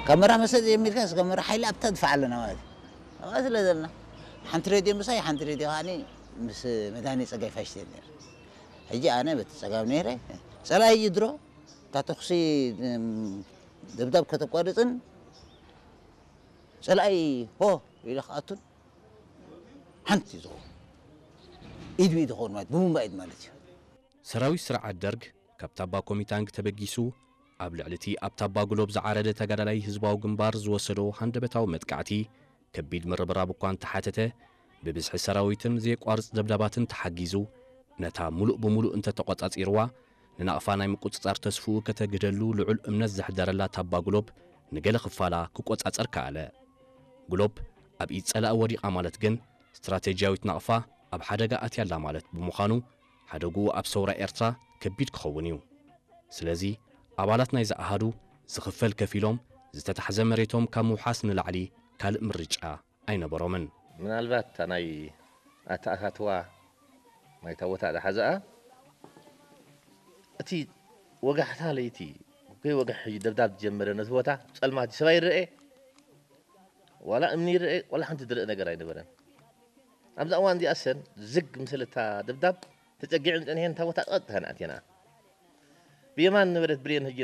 ከመራ መሰል ጀሚርካ፣ ከመራ ሓይሊ ኣብታ ድፋዕ ኣለና ማለት እዩ። ኣብኣ ስለ ዘለና፣ ሓንቲ ሬድዮ ምሳይ፣ ሓንቲ ሬድዮ ከዓኒ ምስ መድሃኒ ጸጋይ ፋሽተን ነይሩ። ሕጂ ኣነ በቲ ጸጋም ነይረ። ጸላኢ እዩ ድሮ፣ እታ ተኹሲ፣ እም፣ ደብዳብ ከተቋርጽን ጸላኢ ሆ ኢሉ ክኣቱን ሓንቲ እዩ ዝኸውን። ኢድ ብኢድ ይኸውን ማለት፣ ብቡምባ ኢድ ማለት እዩ። ሰራዊት ስርዓት ደርግ ካብ ታባ ኮሚታንግ ተበጊሱ ኣብ ልዕሊ እቲ ኣብ ታባ ጉሎብ ዝዓረደ ተጋዳላይ ህዝባዊ ግንባር ዝወሰዶ ሃንደበታዊ መጥቃዕቲ ከቢድ ምርብራብ እኳ እንተሓተተ፣ ብብዝሒ ሰራዊትን ዘየቋርጽ ደብዳባትን ተሓጊዙ ነታ ሙሉእ ብሙሉእ እንተተቖጻጺርዋ፣ ንናቕፋ ናይ ምቁጽጻር ተስፍኡ ከተግህደሉ ልዑል እምነት ዘሕደረላ ታባ ጉሎብ ንገለ ክፋላ ክቆጻጸር ከኣለ። ጉሎብ ኣብ ኢድ ጸላኢ ወዲቓ ማለት ግን ስትራቴጂያዊት ናቕፋ ኣብ ሓደጋ ኣትያ ኣላ ማለት ብምዃኑ ሓደግኡ ኣብ ሰውራ ኤርትራ ከቢድ ክኸውን እዩ። ስለዚ ኣባላት ናይዚ ኣሃዱ ዝኽፈል ከፊሎም ዝተታሕዘ መሬቶም ካብ ምውሓስ ንላዕሊ ካልእ ምርጫ ኣይነበሮምን። ምናልባት እታ ናይ ኣተኣታትዋ ናይታ ቦታ ዝሓዘኣ እቲ ወጋሕታ ለይቲ ከይወግሕ ሕጂ ደብዳብ ዝጀመረ ነቲ ቦታ ጸልማት እዩ። ሰብ ኣይረኤ ዋላ እምኒ ይረኤ ዋላ ሓንቲ ዝረአ ነገር ኣይነበረን። ኣብዛ እዋን እዚኣ ሰን ዝግ ምስ በለታ ደብዳብ ተጸጊዐን ጸኒሐን እታ ቦታ ቀጥታ ንኣትየንኣ። ብየማን ነበረት ብሬን ሕጂ